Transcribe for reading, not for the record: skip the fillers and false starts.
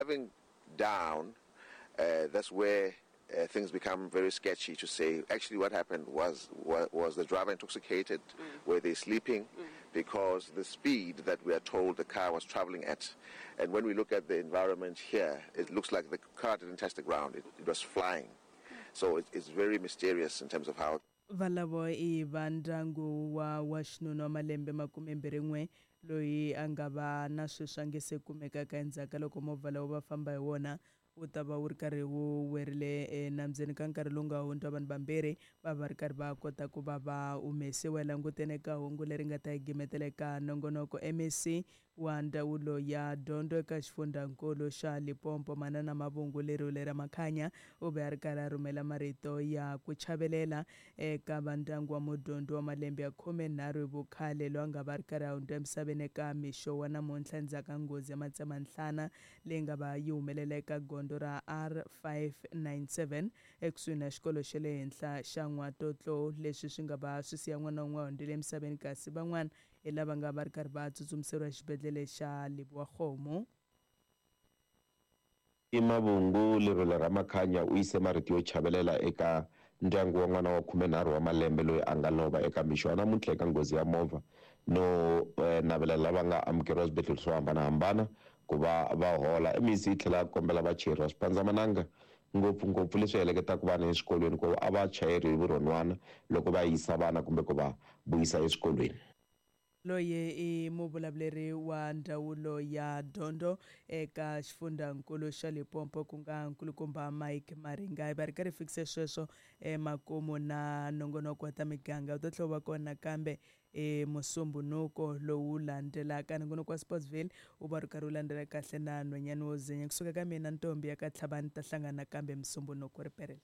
Driving down, that's where things become very sketchy to say actually what happened was was the driver intoxicated, were they sleeping, because the speed that we are told the car was traveling at, and when we look at the environment here, it looks like the car didn't touch the ground, it, it was flying. So it, it's very mysterious in terms of how Valavo i va ndyangu wa wa xinuna wa malembe makumembirhi-n'we loyi a nga va na sweswi a nge se kumekaka endzhaku ka loko movha lowu va famba hi wona wu ta va wu ri karhi wu werile enambyeni ka nkarhi lowu nga hundza vanhu vambirhi va va ri karhi va kota ku va va humesiwa. Hi langutene eka hungu leri nga ta hi gimetela eka nongonoko MEC wa Ndzawulo ya Dyondzo eka xifundzankulu xa Limpopo, Manana Mavhungu Lerule Ramakhanya, u ve a ri karhi a rhumela marito ya ku chavelela eka va ndyangu wa mudyondzi wa malembe ya 13 hi vukhale loyi a nga va a ri karhi a hundza emisaveni eka mixo wa namuntlha endzhaku ka nghozi ya matsemanhlana leyi nga va yi humelela eka gondzo ra R597 ekusuhi na xikolo xa le henhla xa N'watotlou. Leswi swi nga va swi siya n'wana wun'we a hundzile emisaveni kasi van'wana hi lava nga va ri karhi va tsutsumiseriwa exibedhlele xa Lebowakgomo. I Mavhungu Lerole Ramakhanya u yise marito yo chavelela eka ndyangu wa n'wana wa 13 wa malembe loyi a nga lova eka mixo wa namuntlha eka nghozi ya movha no navelela lava nga amukeriwa eswibedhlele swo hambanahambana ku va va hola. MEC yi tlhela a kombela vachayeri va swipandzamananga ngopfungopfu leswi heleketaka vana eswikolweni ku a va chayeri hi vurhonwana loko va yisa vana kumbe ku va vuyisa eswikolweni. Loyi i muvulavuleri wa Ndzawulo ya Dyondzo eka xifundzankulu xa Limpopo ku nga Nkulukumba Mike Maringa. Hi va ri karhi hi fikise sweswo emakumu na nongonoko wa ta miganga wu ta tlhela wu va kona nakambe hi Musumbhunuko lowu landzelaka. Nongonoko wa Sportsville wu va ri karhi wu landzela kahle na nhwanyana wo zinya. Kusuka ka mina Ntombi ya ka Tlhavani ta hlangana nakambe Musumbhunuko riperile.